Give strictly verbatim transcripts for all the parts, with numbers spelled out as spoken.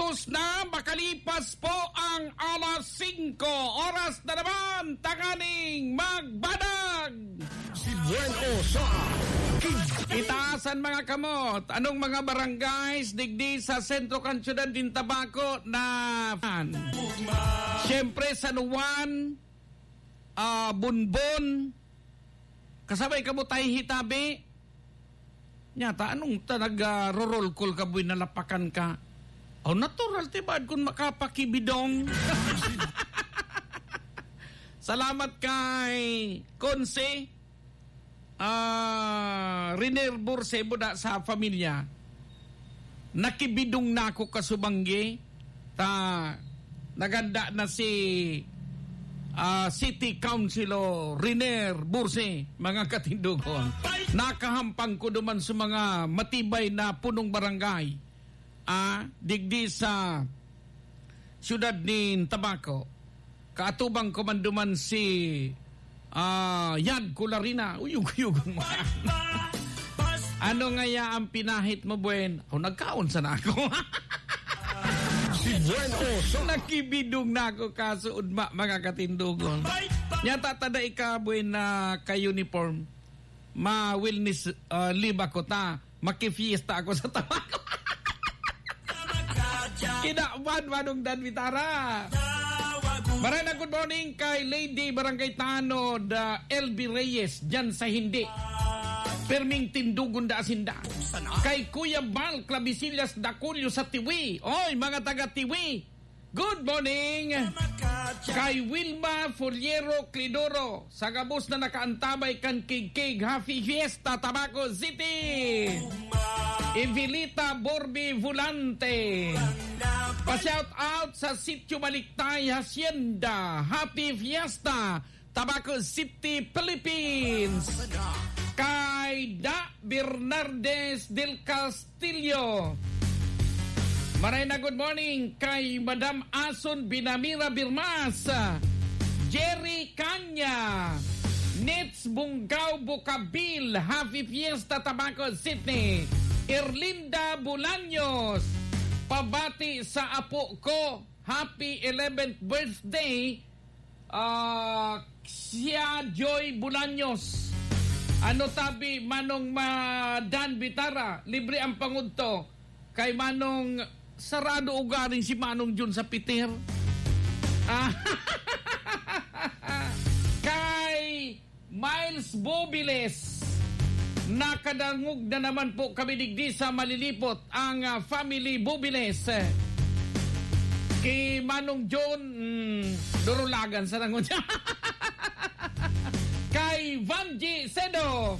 Na makalipas po ang alas singko, oras na naman tanganing magbadag. Si Buen Osa. Itaas an mga kamot. Anong mga barangays digdi sa sentro kan siyudad nin Tabaco na siyempre San Juan, ah, Bonbon, kasabay kamo tahi hitabi. Nyata, anong ta nag, ah, rorolkol ka, buhay nalapakan ka? Oh, natural, tibad kun makapakibidong. Salamat kay Konse, ah, Riner Burse, buda sa pamilya. Nakibidong na ako kasubanggi. Ta, naganda na si, ah, City Councilor Riner Burse, mga katindogon. Nakahampang ko duman sa mga matibay na punong barangay, ah, digdi sa siyudad nin Tabaco. Kaatubang ko man duman si, ah, Yad Kularina. Uyog-uyog man. Ano ngaya ang pinahit mo, Buen? O, nagkaon sana ako. Si Buen Oso. Nakibidong na ako, kaso udma, mga katindogon. Nyata, tada ika, Buen, na ka-uniform. Ma-wellness, ah, leave ako ta. Makifiesta ako sa Tabaco. Kinaban, Manong Dan Vitara. Maray na good morning kay Lady Barangay Tanod, ah, L B Reyes, dyan sa Hindi. Perming tindugon da asinda. Kay Kuya Bal Clavisillas Daculio sa Tiwi. Oy, mga taga Tiwi. Good morning. Kay Wilma Foliero Clidoro, sa gabos na nakaantabay kan Kigkig, Happy Fiesta, Tabaco City. Evelita Borbi Volante. Pa-shout out sa Sitio Maliktay, Hacienda. Happy Fiesta, Tabaco City, Philippines. Kay Da Bernardes del Castillo. Maray na good morning kay Madam Ason Binamira Birmas, Jerry Canya, Nits Bunggaw Bukabil, Happy Fiesta, Tabaco City, Erlinda Bolaños, pabati sa apo ko, happy eleventh birthday, ah, siya Joy Bolaños. Ano tabi, Manong Ma-, Dan Vitara, libre ang pangudto. Kay Manong, sarado ugaring si Manong Jun sa Peter. Ah, kay Miles Bobiles, nakadangog na naman po kami digdi sa Malilipot, ang, ah, family Bobiles. Ki Manong John, mm, durulagan sa nangon siya. Kay Vanji Sedo,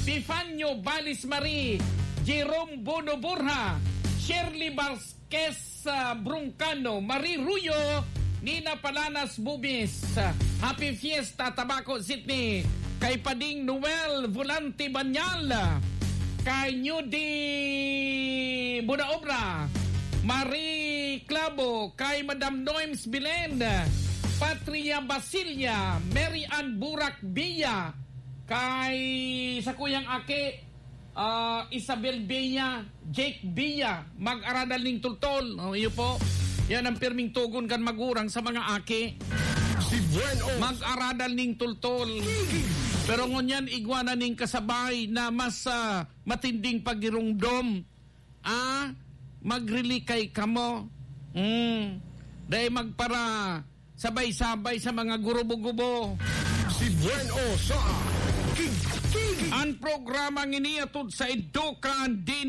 Pifanio Balis Marie, Jerome Bono Borja, Shirley Vasquez, ah, Broncano, Marie Ruyo, Nina Palanas Bubis. Happy Fiesta, Tabaco City. Kay Pading Noel Volante Banyal. Kay Newdy Bunaobra, Marie Clavo, kay Madam Noems Bilen, Patria Basilia, Mary Ann Burak Bia, kay sa kuyang aki, ah, Isabel Bia, Jake Bia, mag-aradal ning tultol. Oh, iyo po. Yan ang pirming tugon kan magurang sa mga aki. Si Buen Os. Mag-aradal ning tultol. Pero ngunyan, igwa na ning kasabay na mas, ah, matinding pagirumdom. Ah, magrilikay kamo. Mm. Dahil magpara sabay-sabay sa mga gurubo-gubo. Si Buen Os sa Kig-, Kig-. Ang programang ini atod sa Edukan, di